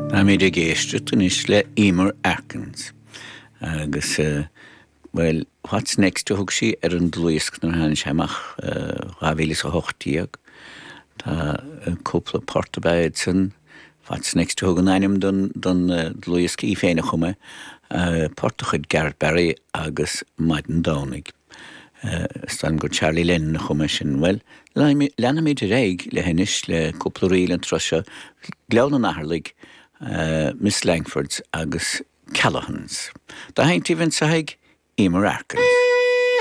Táimid ag éisteacht anois le Eimear Atkins agus, bhuel, What's Next a thug sí ar an dlúthdhiosca nuair a tháinig sé amach, 2018. Tá cúpla port ab ea iad san. What's Next a thug an ainm don dlúthdhiosca, í féin a chum é, port de chuid Gareth Barry agus Maidin Domhnaigh. Is dóigh liom gur Charlie Lennon a chum é sin. Bhuel, leanfaimid ar aghaidh le anois le cúpla ríl an turas seo, Gleann an Atharlaigh, Miss Langfords agus Callaghan's. Dá sheinntíbh anseo ag Eimear Atkins.